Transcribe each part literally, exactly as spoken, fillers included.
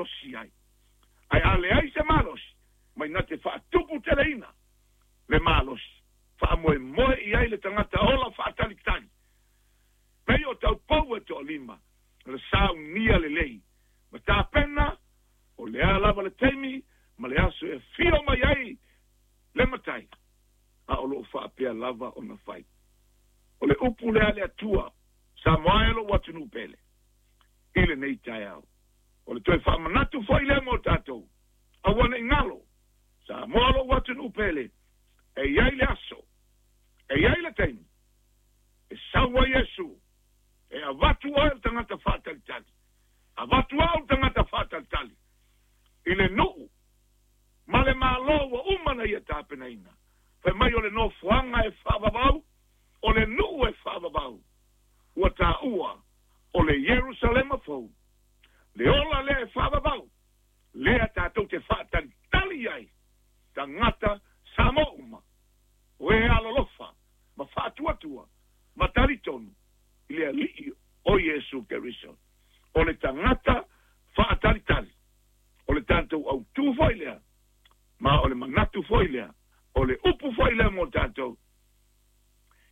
faamalosi ai. Ae a leai se malosi, mai na te faatuputeleina le malosi, faamoemoe i ai le tagata ola faatalitali. Pei o taupou e toalima, le saunia lelei, ma tapena, o lea lava le taimi, ma le aso e fio mai ai le matai, a o loo faapea lava ona fai. O le upu lea le Atua, Samoa e lou atunuu pele, i lenei taeao. O le toe faamanatu foi lea mo tatou, aua ne i galo, Samoa lou atunuu pele, e i ai le aso, e i ai le taimi, e sau ai Iesu, e avatu oe le tagata faatalitali, avatu au le tagata faatalitali, i le nuu, ma le malo ua uma na ia tapenaina. Fai mai o le nofoaga e faavavau, o le nuu e faavavau, ua taua o le Ierusalema fou, le ola lea e faavavau, lea tatou te faatalitali ai, tagata Samoa uma, o e alolofa, ma faatuatua, ma talitonu, i le alii o Iesu Keriso. O le tagata faatalitali, o le tatou autū foi lea, ma o le manatu foi lea, o le upu foi lea mo tatou,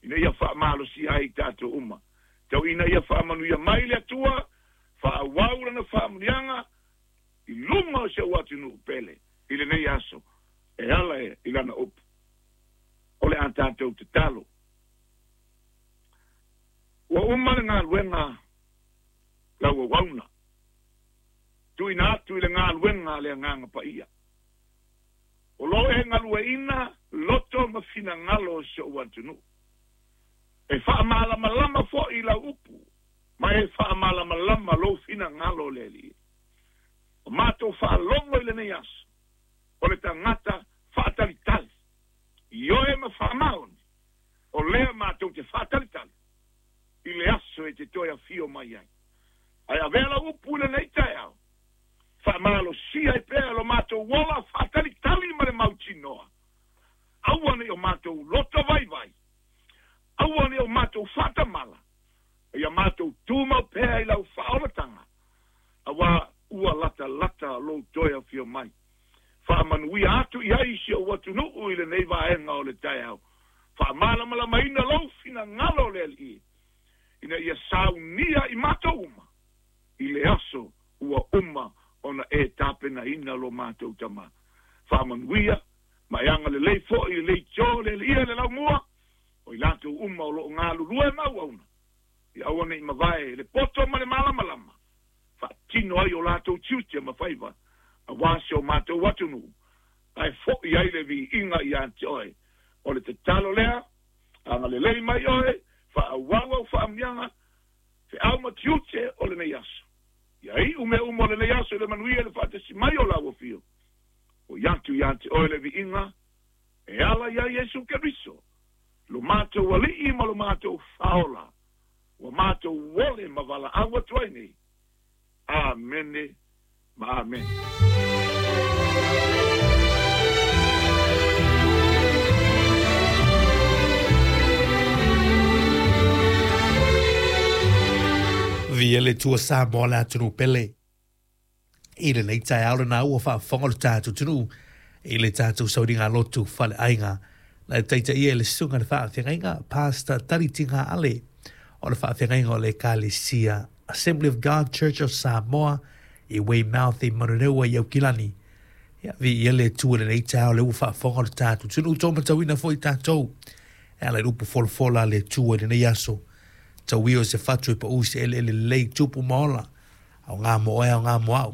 ina ia faamalosia ai tatou uma. Tau ina ia faamanuia mai le Atua, faaauau lana faamanuiaga, i luga o si ou atunuu pele, i lenei aso, e ala e i lana upu. O le a tatou tatalo. Ua uma le galuega lau auauna, tuuina atu i le galuega a le Agaga Paia. O loo e galueina loto ma finagalo o si ou atunuu. E faamalamalama foi lau upu, ma e faamalamalama lou finagalo o le Alii. O matou faalogo i lenei aso, o le tagata faatalitali, ioe ma faamaoni, o lea matou te faatalitali, i le aso e te toe afio mai ai. Ae avea lau upu i lenei taeao, faamalosia ai pea lo matou ola faatalitali ma le mautinoa. Aua ne i o matou loto vaivai, aua ne i o matou faatamala, ia matou tumau pea i lau faaolataga, auā ua latalata lou toe afio mai. Faamanuia atu i ai si ou atunuu i lenei vaega o le taeao. Faamalamalamaina lou finagalo o le Alii, ina ia saunia i matou uma, i le aso ua uma ona e tapenaina lo matou tamā. Faamanuia, ma e agalelei foi i le leitio le Alii le laumua, o i latou uma o loo galulue ma auauna, ia aua ne i mavae le poto ma le malamalama, faatino ai o latou tiute ma faiva, auā si o matou atunuu, ae foi ai le viiga ia te oe. O le tatalo lea, agalelei mai oe, faaauau au faamanuiaga, feau ma tiute o lenei aso. Ia iu mea uma o lenei aso i le manuia i le faatasi mai o lau afio. O i atu ia te oe le viiga, e ala ia Iesu Keriso, lo matou alii ma lo matou faaola, ua matou ole ma valaau atu ai nei. Amene ma amene. Via le Atua Samoa le atunuu pele. I lenei taeao lena ua faafofoga le tatou atunuu i le tatou sauliga lotu faleaiga. Na e taitaia i le susuga le faafeagaiga Pastor Talitina Ale o le faafeagaiga o le Ekalesia Assembly of God Church of Samoa i Weymouth i Manurewa i Aukilani. Ia, viia le Atua i lenei taeao le ua faafofoga le tatou atunuu tō matauina foi tatou. E ala i le upu folafola a le Atua i lenei aso. Tauia o se fatu e pau se eleele lelei tupu ma ola. Au ngā mo oe, au ngā mo au.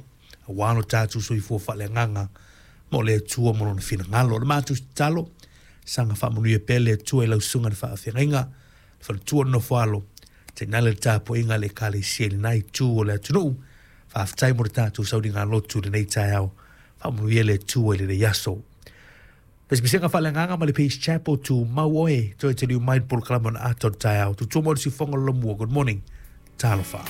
Auā lo tatou soifua faaleagaga mo le Atua ma lona finagalo. O le matou tatalo, saga faamanuia pea le Atua i lau susuga i le faafeagaiga, le faletua o le nofoalo, tainane le tapuaiga a le Ekalesia i lena itu o le atunuu. Faafetai mo le tatou sauliga lotu i lenei taeao. Faamanuia le Atua i lenei aso. Pesepesega faaleagaga ma le Peace Chapel tumau oe, toe taliu mai le polokalame ona ata o le taeao. Tutua mo le siufofoga o le lamua. Good morning. Talofa.